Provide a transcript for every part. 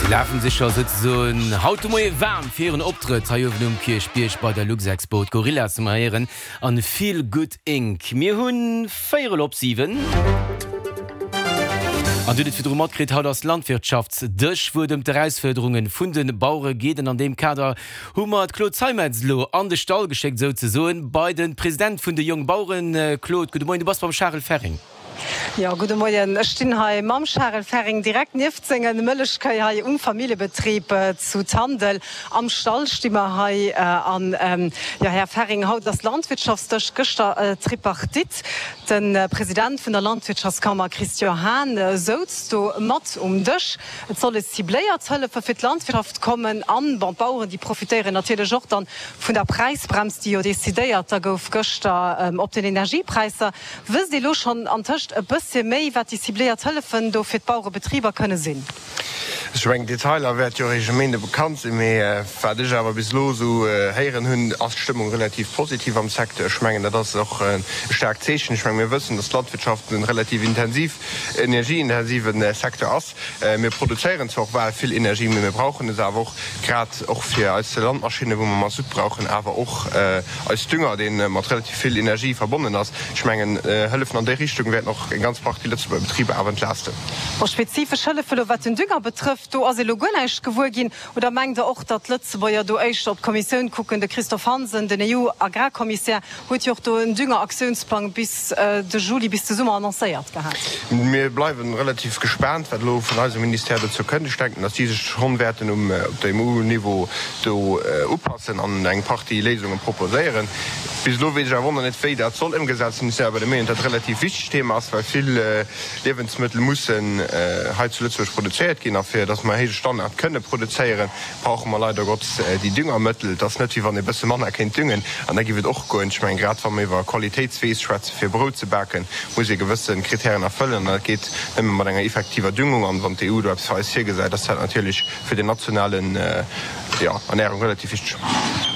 Si lafen sech scho souzesoen haut de Moie waarm fir hiren Optrëtt hei uewen um Kierchbierg bei der Luxexpo. D'Gorillas hu mer héieren an Feel Good Inc. Mir hu véierel op 7. An Dir hutt et virdru matkritt, haut ass Landwirtschaftsdësch, wou et ëm d'Erausfuerderunge vun de Bauere geet. An an deem Kader hu mer d'Claude Zeimetz elo an de Stall geschéckt, souzesoen, bei de President vun de Jongbaueren. Claude, gudde Moien, du bass beim Charel Ferring. Jo, gudde Moien. Ech stinn hei mam Charel Ferring direkt nieft senge Mëllechkéi hei um Familljebetrib zu Tandel. Am Stall sti mer hei. An, jo, Här Ferring, haut ass Landwirtschaftsdësch, gëschter Tripartite. De President vun der Landwirtschaftskammer Christian Hahn souz do mat um Dësch. Et solle cibléiert Hëllefe fir d'Landwirtschaft kommen. An, bon, d'Baueren, déi profitéieren natierlech och dann vun der Präisbrems, déi jo decidéiert da gouf gëschter op den Energiepräisser. Wësst Dir elo schonn antëscht e bëssche méi, wat déi cibléiert Hëllefen do fir d'Bauerebetriber kënne sinn? Ech mengen, d'Detailer wäerte jo eréischt e Méinde bekannt sinn. Mee wat ech awer bis elo esou héieren hunn, ass d'Stëmmung relativ positiv am Secteur. Ech mengen, dat ass och e staarkt Zeechen. Ech mengen, mir wëssen, datt d'Landwirtschaft e relativ intensiv, energieintensive Secteur ass. Mir produzéieren zwar och bal vill Energie, mee mir brauchen es awer och, grad och fir eis Landmaschinnen, wou mer Masutt brauchen, awer och eis Dünger, dee mat relativ vill Energie verbonnen ass. Ech mengen, Hëllefen an déi Richtung wäerten och eng ganz Partie Lëtzebuerger Betriber awer entlasten. Bon, spezifesch Hëllefe elo wat den Dünger betrëfft, do ass elo guer näischt gewuer ginn. Oder mengt Der och, datt d'Lëtzebuerger do éischter op d'Kommissioun kucken? De Christophe Hansen, den EU-Agrarkommissär, huet jo och do en Düngeraktiounsplang bis de Juli, bis de Summer annoncéiert gehat. Mir bleiwe relativ gespaant, wat elo vun eisem Ministère dozou kënnt. Ech denken, datt déi sech schonn wäerten um op dem EU-Niveau do upassen an eng Partie Léisunge proposéieren. Bis elo weess ech awer och nach net, wéi dat soll ëmgesat sinn. Ech sinn awer der Meenung, datt et e relativ wichtegt Thema ass, well vill Liewensmëttel mussen hei zu Lëtzebuerg produzéiert ginn. A fir datt mer e héije Standard kënne produzéieren, brauche mer leider Gottes déi Düngermëttel. Et ass net, wéi wann ee bësse manner kéint düngen an da giff et och goen. Ech mengen, grad wa mer iwwer Qualitéitsweess schwätzen, fir Brout ze baken, muss ee gewësse Kritären erfëllen an dat geet nëmme mat enger effektiver Düngung. An wann d'EU do eppes fir eis virgesäit, ass dat natierlech fir den nationalen, jo, Ernährung relativ wichteg.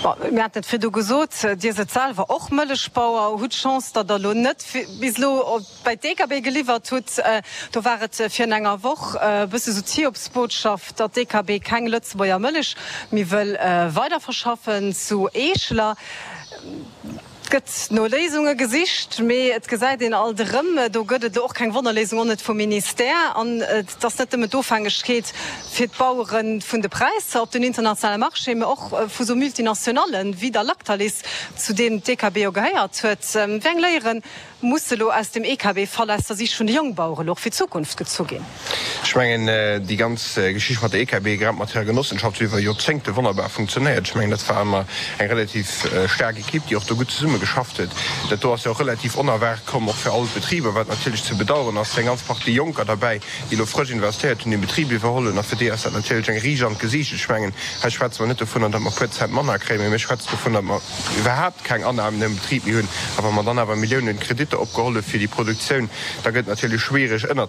Bon, mir haten et virdu gesot, Dir sidd selwer och Mëllechbauer, hutt d'Chance, datt Der elo net bis elo bei d'DKB geliwwert hutt. Do war et virun enger Woch e bësse sou d'Hiobsbotschaft, datt d'DKB keng Lëtzebuerger Mëllech méi wëll weiderverschaffen zu Eescheler. Et gëtt no Léisunge gesicht, mee et gesäit een alt erëm, do gëtt et elo och keng Wonnerléisung, och net vum Ministère. An et ass net nëmmen d'Ofhängegkeet fir d'Bauere vun de Präisser op den internationale Marché, mee och vu sou Multinationallen wéi der Lactalis, zu deem d'DKB jo gehéiert huet. Wéi eng Léieren Muss elo aus dem EKB-Fall aus der Siicht vun de Jongbauere elo och fir d'Zukunft gezu ginn? Ech mengen, déi ganz Geschicht mat der EKB, grad mat hirer Genossenschaft, huet iwwer Joerzéngte wonnerbar funktionéiert. Ech mengen, dat war ëmmer eng relativ staark Ekipp, déi och do gutt zesumme geschafft huet. Dat do ass jo och relativ onerwaart komm, och fir all d'Betriber, wat natierlech ze bedauern ass. Et si eng ganz Partie Jonker derbäi, déi elo frësch investéiert hunn, déi den Betrib iwwerholl hunn. A fir déi ass dat natierlech eng Riicht an d'Gesiicht. Ech mengen, hei schwätze mer net dovunner, datt mer e puer Cent manner kréien, mee mir schwätzen dovunner, datt mer, iwwerhaapt keng Annahmen am Betrib méi hunn, a wa mer dann awer Milliounen Kreditter opgeholl hu fir déi Produktioun, da gëtt et natierlech schwiereg ënnerzekommen.